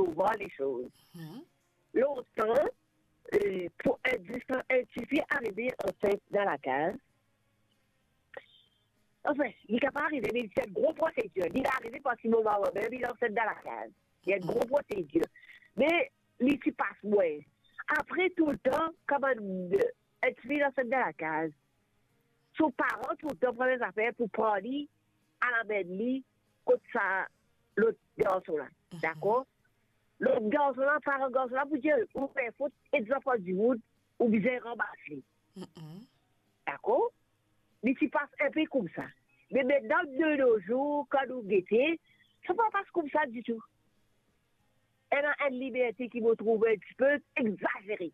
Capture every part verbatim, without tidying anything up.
sovan lesoz. Lontan, eh, pou enn, zis enn tifi arive ansent dan lakaz, anfin, li kapav arive, me li ti enn gro prosedir. Li arive parski mo mama mem, li ansent dan lakaz. Li enn gro prosedir. Me li ti pas mwa. Apre toultan, kan bann enn tifi ansent dan lakaz, so paran toultan pran zafer pou pran li, al amenn li kot sa lot garson la. Dakor? Lot garson la, paran garson la pou dir, ou fer fot, enn zanfan dimoun, ou bizin ranmas li. Dakor? Li ti pas enpe koumsa. Me mintnan, de nos jours, kan nou gete, sa pa pas koumsa ditou. Ena enn liberte ki mo trouve enn tipe egzazere.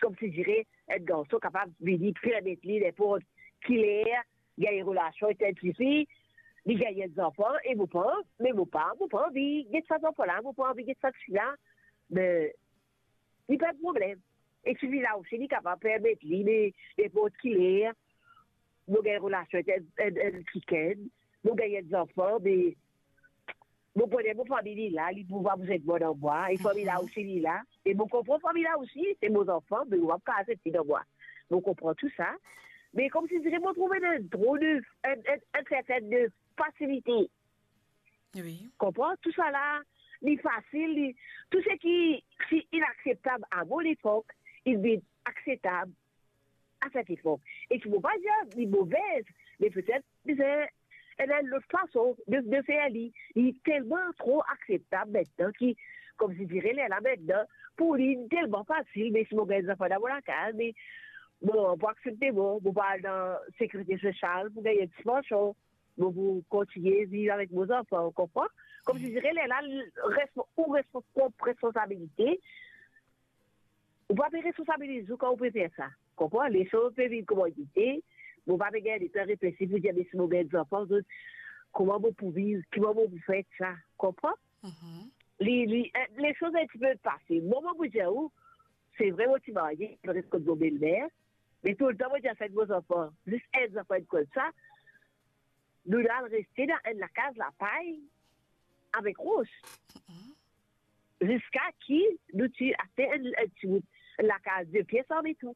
Komsidire, enn garson kapav vini permet li ninport ki ler gagn relasion ek enn tifi, li gagn enn zanfan, e mo pa, me mo pa, mo pa anvi get sa zanfan la, mo pa anvi get sa tifi la. Me li pa problem. E tifi la osi, li kapav permet li, me ninport ki ler, mo gagn relasion ek enn, enn, enn kikenn, mo gagn enn zanfan, me mo kone mo fami li la, li pou pa bizin mwa dan mwa, e fami la osi li la, e mo konpran fami la osi, se mo zanfan, me mo pa kapav aksepte dan mwa. Mo konpran tou sa, me komsidire mo trouve enn tro de, enn, enn, enn serten de fasilite. Wi. Konpran? Tou sa la, li fasil, li, tou seki ti inakseptab a mo lepok, li vinn akseptab a set lepok. E ti mo pa dir li movez, me petet bizin ena enn lot fason de, de fer li. Li telman tro akseptab mintnan ki, komsidire lerla mintnan, pou li, li telman fasil, me si mo gagn zanfan dan mo lakaz, me mo, pou aksepte mo, mo pou al dan sekirite sosial pou gagn enn ti pansion. Mo pou kontigne viv avek mo zanfan, ou konpran? Komsidire lerla, respo-, ou respo-, prop responsabilite, ou pa pe responsabiliz ou kan ou pe fer sa. Konpran? Lesoz pe vinn kouma li ete, mo pa pe gagn letan reflesi pou dir, me si mo gagn zanfan, zot, kouma mo pou viv, kouma mo pou fer sa, konpran? Li, li, eh, lesoz enn tipe pase. Mo, mo pou dir ou, se vre, mo ti marye, mo res kot mo belmer, me toultan mo ti ansent mo zanfan, zis enn zanfan enn koumsa, nou al reste dan enn lakaz lapay avek ros. Ziska ki nou ti aste enn, enn ti bout lakaz de pies an beton.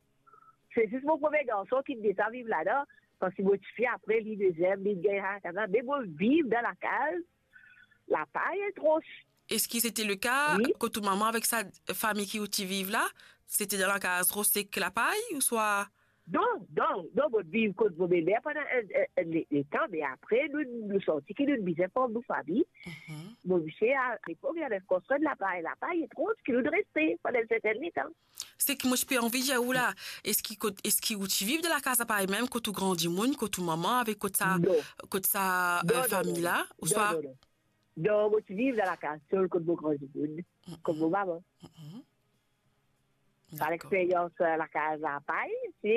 Se zis mo premie garson ki deza viv ladan, parski mo tifi apre li deziem, li gagn lakaz la, me mo viv dan lakaz lapay ek ros. Eski sete le ka kot ou mama avek sa fami ki ou ti viv la? Sete dan lakaz ros ek lapay, ouswa? Non, non, non, mo viv kot mo belmer pandan enn, enn, enn le-, letan, me apre, nou, nou santi ki nou bizin form nou fami. Mo misie, a lepok, li ave konstrir lapay, lapay ek ros ki nou reste pandan enn serten letan. Seki mo ti pe anvi dir ou la, eski kot, eski ou ti viv dan lakaz lapay mem, kot ou grandi moun, kot ou mama, avek kot sa, kot sa, eh, fami la, ouswa? Non, non, non. Non, mo ti viv dan lakaz tol kot mo grandi moun, kot mo mama. Sa lexperyans, eh, lakaz lapay, se,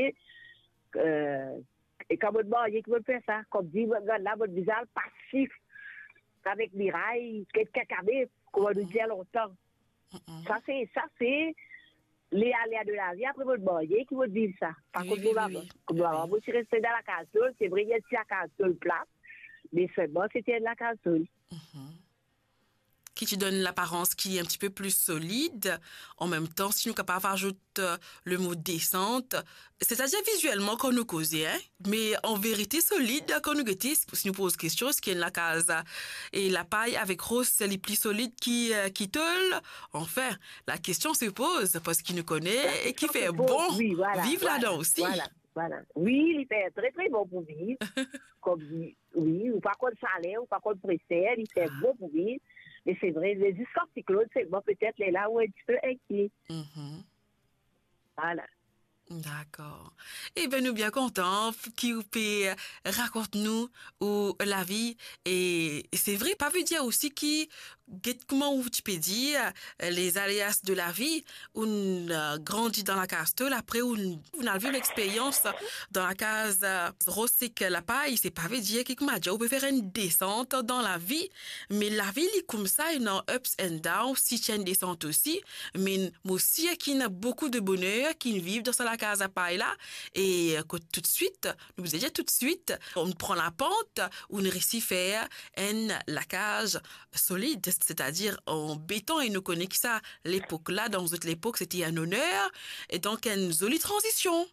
eh, e kan mo marye ki mo fer sa, komsi mo gagn la, mo bizin al pasif avek miray, get kakabef, kouma nou dir lontan. Sa se, sa se le alea de lavi, apre mo marye ki mo viv sa. Pa kot mo mama. Kot mo mama, mo ti reste dan lakaz tol, se vre, ena ti lakaz tol pla, me selman sete enn lakaz tol. Ki ti donn laparans ki enn tipe pli solid. An mem tan, si nou kapav azout, eh, le mo desant, setadir vizielman kan nou koze, hein, me an verite solid, kan nou gete, si nou poz kestion, eski enn lakaz, eh, lapay avek ros, li pli solid ki, eh, ki tol? Anfin, la question se pose, parski nou kone ki fer bon viv ladan osi. Vwala, vwala. Wi, li fer tre, tre bon pou viv. Kom, wi, ou pa konn saler, ou pa konn preser, li fer bon pou viv. Me se vre, me ziska siklonn, selman petet lerla ou enn tipe enkiet. Vwala. Dakor. Eben, nou bien kontan ki ou pe rakont nou ou lavi. E se vre, pa ve dir osi ki, get kouma ou ti pe dir, les aléas de la vie, ou'nn, eh, grandi dan lakaz tol, apre ou'nn, ou'nn al viv lexperyans dan lakaz, eh, ros ek lapay, se pa ve dir ki kouma dir ou pe fer enn desant dan lavi, me lavi li koumsa, ena ups and downs, si ti enn desant osi, me mo sir ki ena boukou de boner ki'nn viv dan sa lakaz lapay la, e kot toutswit, nou bizin dir toutswit, ou'nn pran lapant, ou'nn resi fer enn lakaz solid. c'est-à-dire en béton, e nou kone ki sa, lepok la, dan zot lepok, c'était un honneur, e donk enn zoli tranzision.